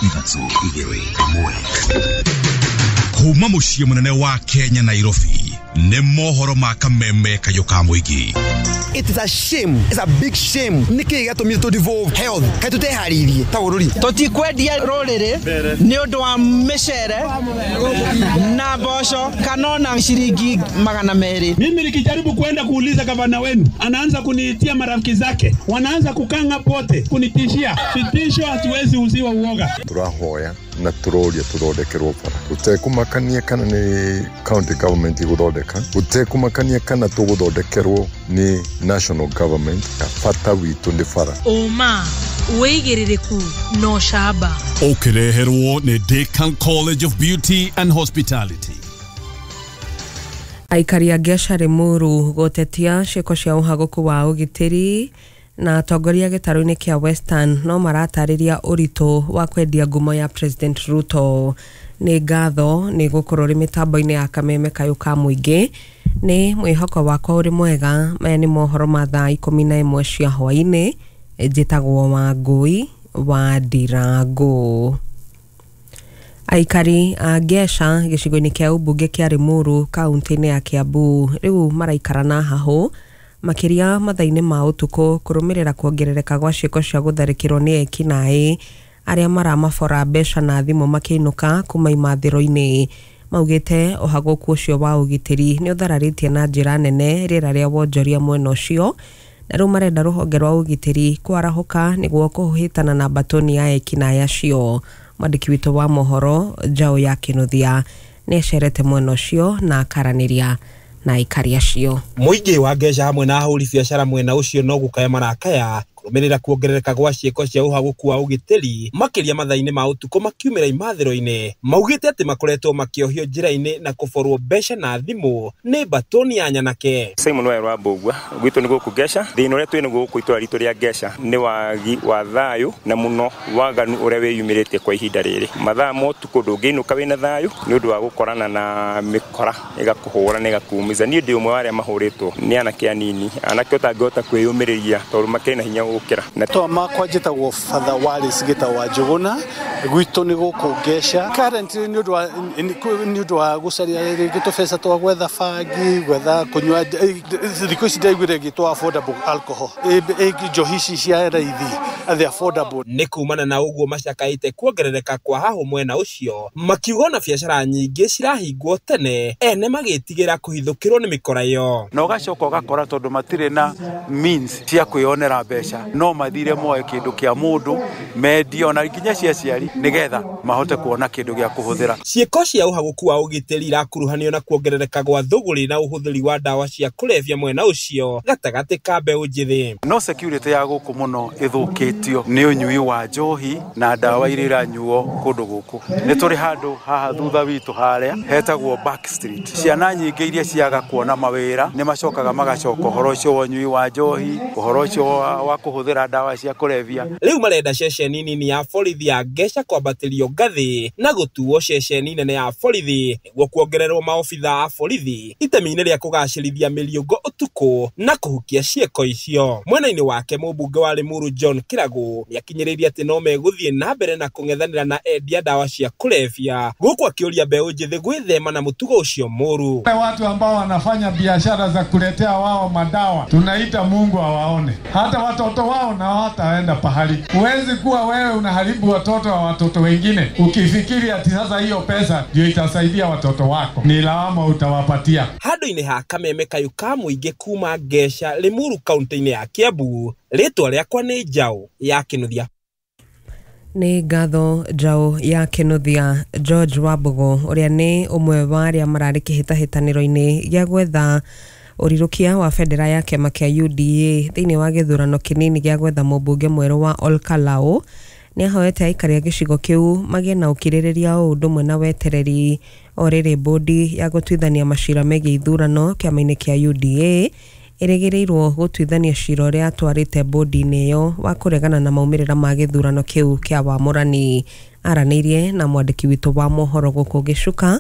3 2 1. Kuma mũciĩ mũnene wa Kenya Nairobi nĩ mohoro ma kameme kayũ ka mũingĩ. It is a shame. It's a big shame. Nĩkĩ gĩatũmire tũ devolve health? Kaĩ tũteharĩirie ta bũrũri? Tũtikwendia rũrĩrĩ nĩ ũndũ wa mĩcere na mboco kana ona ciringi 200. Mimi nikijaribu kwenda kuuliza gavana wenu, anaanza kuniitia marafiki zake, wanaanza kukanga pote kunitishia. Vitisho, hatuwezi uziwa uoga. Tũrahoya na tũroria tũthondekerwo bara gũtekũmakania kana nĩ county government igũthondeka, gũtekũmakania kana tũgũthondekerwo nĩ national government. Bata witũ nĩ bara. Ũma, wĩigĩrĩrĩku na ũcamba. Ũkĩreherwo nĩ Decan College of Beauty and Hospitality. Aikari a Ngeca Limuru gũtetia ciĩko cia ũhagũku wa ũgitĩri na atongoria gĩtarũ-inĩ kĩa Western no maratarĩria ũritũ wa kwendia ngumo ya President Ruto. Nĩ ngatho nĩ gũkorwo ũrĩ mĩtambo-inĩ ya kameme kayũ ka mũingĩ. Nĩ mwĩhoko wakwa ũrĩ mwega. Maya nĩ mohoro ma thaa 11 cia hwaĩ-inĩ. Njĩtagwo Wangũi wa Ndirangũ. Aikari a Ngeca gĩcigo-inĩ kĩa ũmbunge kĩa Limuru kaunti-inĩ ya Kiambu rĩu maraikara na hahũ makĩria mathaa-inĩ ma ũtukũ kũrũmĩrĩra kuongerereka gwa ciĩko cia gũtharĩkĩrwo nĩ ekinaĩ arĩa maramabora mbeca na thimũ makĩinũka kuma imathĩro-inĩ. Maugĩte ũhagũku ũcio wa ũgitĩri nĩ ũthararĩtie na njĩra nene rĩera rĩa wonjoria mwena ũcio, na rĩu marenda rũhonge rwa ũgitĩri kwarahũka nĩguo kũhĩtana na mbatoni ya ekinaĩ acio. Mwandĩki witũ wa mohoro Njaũ ya Kĩnuthia nĩ acerete mwena ũcio na akaranĩria na aikari acio. Mũingĩ wa Ngeca hamwe na ahũri biacara mwena ũcio no gũkaya marakaya kũrũmĩrĩra kuongerereka gwa ciĩko cia ũhagũku wa ũgitĩri makĩria mathaa-inĩ ma ũtukũ makiumĩra imathĩro-inĩ. Maugĩte atĩ makoretwo makĩohio njĩra-inĩ na kũborwo mbeca na thimũ nĩ mbatoni ya nyanake. Simon Waweru wa Mbũgua gwitũ nĩ gũkũ Ngeca. Thĩna ũrĩa twĩ naguo gũkũ itũra ritũ rĩa Ngeca nĩ wagi wa thayũ na mũno waganu ũrĩa wĩyumĩrĩtie kwa ihinda rĩrĩ. Mathaa ma ũtukũ ndũngĩinũka wĩna thayũ nĩ ũndũ wa gũkorana na mĩkora ĩgakũhũra na ĩgakuumiza. Niĩ ndĩ ũmwe wa arĩa mahũrĩtwo nĩ anake anini, anake ũtangĩhota kwĩyũmĩrĩria tondũ makĩrĩ na hinya gũkĩra. Na to makwa njĩtagwo Father Wallace Gita wa Njũgũna, gwitũ nĩ gũkũ Ngeca. Currently nĩ ũndũ wa gũcaria rĩngĩ tũbeca twa gwetha bangi, gwetha kũnyua, thikũ ici ndaiguire ĩgĩtwo affordable alcohol, njohi ici cia raithi, the affordable. Nĩ kumana na ũguo macakaĩte kuongerereka kwa hahũ mwena ũcio, makiuga ona biacara nyingĩ cirahingwo tene ene magĩtigĩra kũhithũkĩrwo nĩ mĩkora ĩyo. Na ũgacoka ũgakora tondũ matirĩ na means cia kwĩyonera mbeca, no mathire moe kĩndũ kĩa mũndũ mendie ona nginya cia aciari nĩgetha mahote kuona kĩndũ gĩa kũhũthĩra. Ciĩko cia ũhagũku wa ũgitĩri irakuruhanio na kuongerereka gwa thũgũrĩ na ũhũthĩri wa ndawa cia kũrebia mwena ũcio gatagatĩ ka mbeũ njĩthĩ. No security ya gũkũ mũno ĩthũkĩtio nĩ ũnyui wa njohi na ndawa iria iranyuo kũndũ gũkũ. Nĩ tũrĩ handũ haha thutha witũ harĩa hetagwo Back Street. Ciana nyingĩ iria ciaga kuona mawĩra nĩ macokaga magacoka ũhoro ũcio wa ũnyui wa njohi, ũhoro ũcio wa kũhũthĩra ndawa cia kũrebia. Rĩu marenda ceceni nini ya borithi ya Ngeca kwambatĩrio ngathĩ na gũtuo ceceni nene ya borithi nĩguo kuongererwo maobitha a borithi itemi-inĩ rĩa kũgacĩrithia mĩriũngo ũtukũ na kũhukia ciĩko icio. Mwena-inĩ wake mũmbunge wa Limuru John Kĩragũ nĩakinyĩrĩirie atĩ no megũthiĩ na mbere na kũng'ethanĩra na endia ndawa cia kũrebia gũkũ akĩũria mbeũ njĩthĩ gwĩthema na mũtugo ũcio mũru. Watu ambao wanafanya biashara za kuletea wao madawa, tunaita Mungu awaone, hata watoto wao na hawataenda pahali. Huwezi kuwa wewe unaharibu watoto wa watoto wengine ukifikiri ati sasa hiyo pesa ndio itasaidia watoto wako. Ni lawama utawapatia. Handũ-inĩ ha kameme kayũ ka mũingĩ kuma Ngeca Limuru kaunti-inĩ ya Kiambu, rĩtwa rĩakwa nĩ Njaũ ya Kĩnuthia. Nĩ ngatho Njaũ ya Kĩnuthia. George Wambugu ũrĩa nĩ ũmwe wa arĩa mararĩ kĩhĩtahĩtanĩro-inĩ gĩa gwetha ũrirũkia wa bendera ya kĩama kĩa UDA thĩinĩ wa gĩthurano kĩnini gĩa gwetha mũmbunge mwerũ wa Olkalau nĩ ahoete aikari a gĩcigo kĩu magĩe na ũkirĩrĩria o ũndũ ũmwe na wetereri o rĩrĩ bodi ya gũtuithania macira megiĩ ithurano kĩama-inĩ kĩa UDA ĩrĩgĩrĩirwo gũtuithania cira ũrĩa atwarĩte bodi-inĩ ĩyo wa kũregana na maumĩrĩra ma gĩthurano kĩu kĩa wamũrani. Aranĩirie na mwandĩki witũ wa mohoro gũkũ Gĩcuka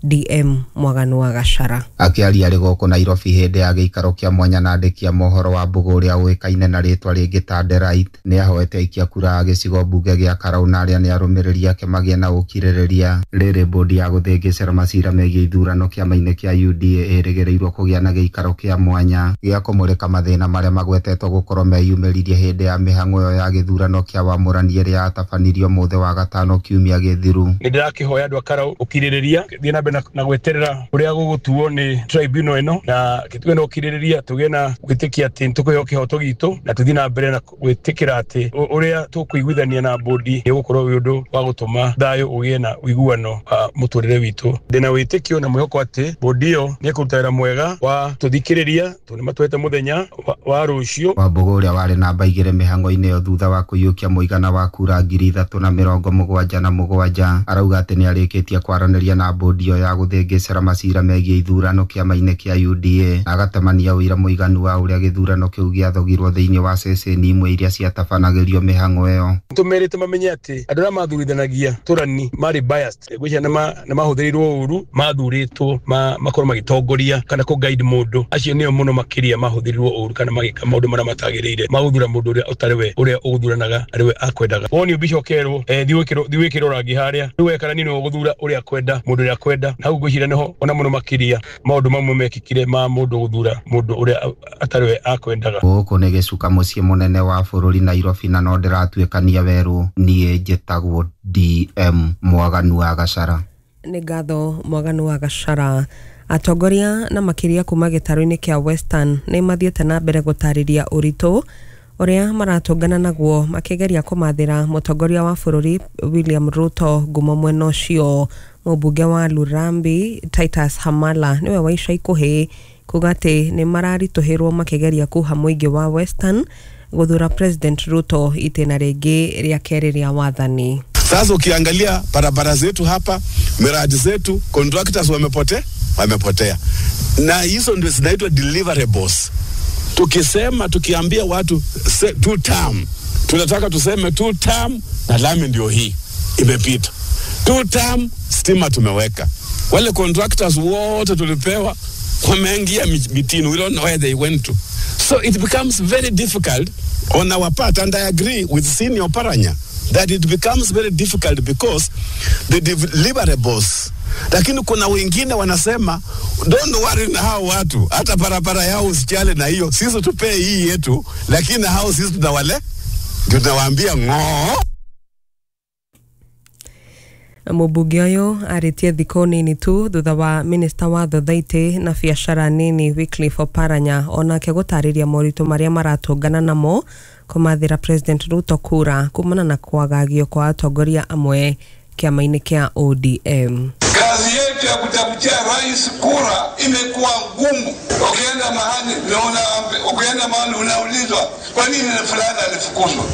DM Mwaganu wa Gachara. Akĩaria arĩ gũkũ Nairobi hĩndĩ ya gĩikaro kĩa mwanya na andĩki a mohoro wa Mbũgũ ũrĩa ũĩkaine na rĩtwa rĩngĩ ta Delight, nĩ ahoete aikia kura a gĩcigo mbunge gĩa Karau na arĩa nĩ arũmĩrĩri ake magĩe na ũkirĩrĩria. Rĩrĩ bodi ya gũthĩngĩcĩra macira megiĩ ithurano kĩama-inĩ kĩa UDA ĩrĩgĩrĩirwo kũgĩa na gĩikaro kĩa mwanya gĩa kũmũrĩka mathĩna marĩa magwetetwo gũkorwo meyumĩririe hĩndĩ ya mĩhang'o ĩyo ya gĩthurano kĩa wamũrani ĩrĩa yatabanĩirio mũthĩ wa gatano kiumia gĩthiru. Nĩ ndĩrakĩhoya andũ a Karau ũkirĩrĩria thiĩ na mbere na gweterera ũrĩa gũgũtuo nĩ tribunal ĩno, na tũgĩe na ũkirĩrĩria, tũgĩe na gwĩtĩkia atĩ nĩtũkũheo kĩhoto gitũ, na tũthiĩ na mbere na gwĩtĩkĩra atĩ ũrĩa tũkũiguithania na bodi nĩ ũgũkorwo wĩ ũndũ wa gũtũma thayũ ũgĩe na ũiguano wa mũtũrĩre witũ. Ndĩna wĩtĩkio na mwĩhoko atĩ bodi ĩyo nĩ ĩkũruta wĩra mwega wa tũthikĩrĩria tondũ nĩmatũhete mũthenya wa rũciũ. Wambũgũ ũrĩa warĩ namba 2 mĩhang'o-inĩ ĩyo thutha wa kũiyũkia mũigana wa kura 3,077 arauga atĩ nĩarĩkĩtie kwaranĩria na bodi ĩyo ya gũthĩngĩcĩra macira megiĩ ithurano kĩama-inĩ kĩa UDA, na agatemania ũira mũiganu wa ũrĩa gĩthurano kĩu gĩathogirwo thĩinĩ wa ceceni imwe iria ciatabanagĩrio mĩhang'o ĩyo. Tũmerĩte mamenye atĩ andũ arĩa mathuurithanagia tũrani marĩ biased, ngwĩciria nĩ mahũthĩrĩirwo ũru, mathurĩtwo makorwo magĩtongoria kana kũ guide mũndũ, acio nĩo mũno makĩria mahũthĩrirwo ũru kana magĩka maũndũ marĩa matagĩrĩire, magũthura mũndũ ũrĩa ũtarĩ we, ũrĩa ũgũthuranaga arĩ we akwendaga. Woni mbica ũkerwo thiĩ wĩkĩrwo rangi harĩa, rĩu wekana nĩ ũgũthura ũrĩa akwenda, mũndũ ũrĩa akwenda, na hau ngwĩciria nĩho ona mũno makĩria maũndũ mamwe mekĩkire ma mũndũ gũthura mũndũ ũrĩa atarĩ we akwendaga. Gũkũ nĩ gĩcuka mũciĩ mũnene wa bũrũri Nairobi, na no ndĩratuĩkania werũ. Niĩ njĩtagwo DM Mwaganu wa Gachara. Nĩ ngatho Mwaganu wa Gachara. Atongoria na makĩria kuma gĩtarũ-inĩ kĩa Western nĩ mathiĩte na mbere gũtarĩria ũritũ ũrĩa maratũngana naguo makĩgeria kũmathĩra mũtongoria wa bũrũri William Ruto ngumo mwena ũcio. Mũmbunge wa Lurambi Titus Hamala nĩwe wa ica ikuhĩ kuga atĩ nĩ mararitũhĩrwo makĩgeria kuha mũingĩ wa Western gũthura President Ruto itĩna rĩngĩ rĩa kerĩ rĩa wathani. Sasa ukiangalia barabara zetu hapa, miradi zetu, contractors wamepotea. Na hizo ndio zinaitwa deliverables. Tukisema, tukiambia watu two term, tunataka tuseme two term na lami ndio hii imepita. Two term stima tumeweka. Wale contractors wote tulipewa wameingia mitini, we don't know where they went to. So it becomes very difficult on our part, and I agree with Senior Paranya that it becomes very difficult because the deliverables. Lakini kuna wengine wanasema don't worry na hao watu, hata barabara yao usichale na hiyo, sisi tupee hii yetu, lakini hao sisi tunawale tunawaambia ngoo. Mũmbunge ũyũ arĩtie thikũ nini tu thutha wa minista wa thothaitĩ na biacara nini Wycliffe Oparanya onake gũtarĩria moritũ marĩa maratũngana namo kũmathĩra President Ruto kura kumana na kwagagio kwa atongoria amwe kĩama-inĩ kĩa ODM. Kazi yetu ya kutafutia rais kura imekuwa ngumu. Ukienda mahali unaona, ukienda mahali unaulizwa kwa nini fulani alifukuzwa.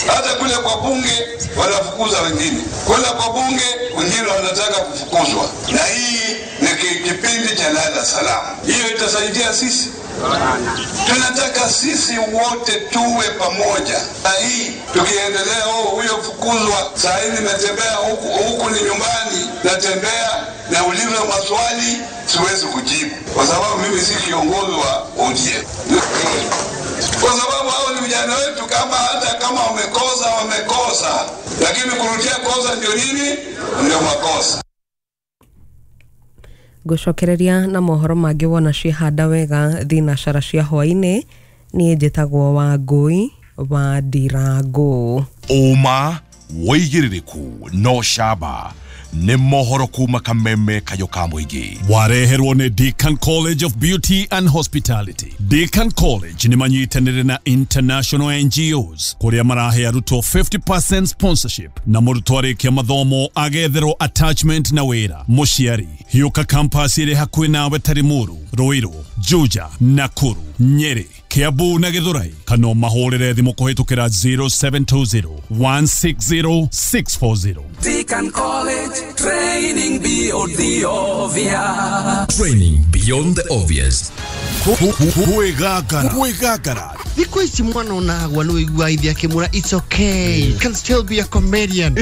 Hata kule kwa bunge wanafukuza wengine, kule kwa bunge wengine wanataka kufukuzwa. Na hii ni kipindi cha lala salama. Hiyo itasaidia sisi. Tunataka sisi wote tuwe pamoja. Na hii tukiendelea, huyo fukuzwa, saa hii nimetembea huku, huku ni nyumbani, natembea naulizwa maswali siwezi kujibu kwa sababu mimi si kiongozi wa ODM. Kwa sababu hao ni vijana wetu, kama hata kama wamekosa wamekosa, lakini kurudia kosa ndio nini? Ndio makosa. Gũcokereria na mohoro mangĩ wona ciĩhanda wega thinacara cia hwaĩ-inĩ. Niĩ njĩtagwo Wangũi wa Ndirangũ. Ũma wĩigĩrĩrĩku no camba nĩ mohoro kuma Kameme Kayo ka mũingĩ. Wareherwo nĩ Deakin College of Beauty and Hospitality. Deakin College nĩ manyitanĩire na international NGOs kũrĩa marahe arutwo 50% sponsorship na mũrutwo arĩkia mathomo agetherwo attachment na wĩra. Mũciari hiũka campus ĩrĩ hakuhĩ nawe ta Limuru, Ruiru, Juja, Nakuru, Nyeri, Kiambu na Githurai, kana mahũrĩre thimũ kũhĩtũkĩra 0720 160 640. Deakin College, training beyond the obvious. Training beyond the obvious. Kwĩgangara. Thikũ ici mwana onagwa nĩ wĩiguaga ithe akĩmwĩra it's okay, you can still be a comedian.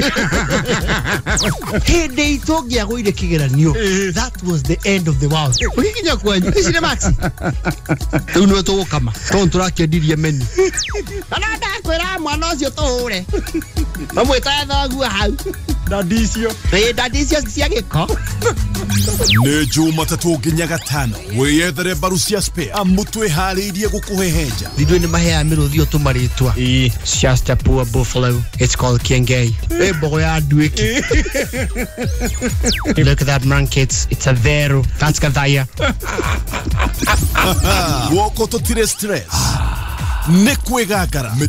Hĩndĩ itũ ũngĩagũire kĩgeranio, that was the end of the world. Ũgĩkinya kwanyu ici nĩ maxi rĩu nĩwe tũgũkama tondũ tũrakĩendirie menu. Na ndakwĩra mwana ũcio tũhũre mamwĩtaga thoguo hau ndandi icio. Ĩĩ, ndandi icio cia gĩko. Nĩ Jumatatũ nginya Gatano wĩyethere mbaru cia spare amu twĩharĩirie gũkũhehenja. Ithuĩ nĩ maheaga mĩrũthi o tũmarĩtwa. It's just a poor buffalo. It's called Kiengei. Ĩ mbogo ya nduĩki. Look at that monkey. It's a vero. That's Gathaya. Guoko tũtirĩ stress nĩ kwĩgangara.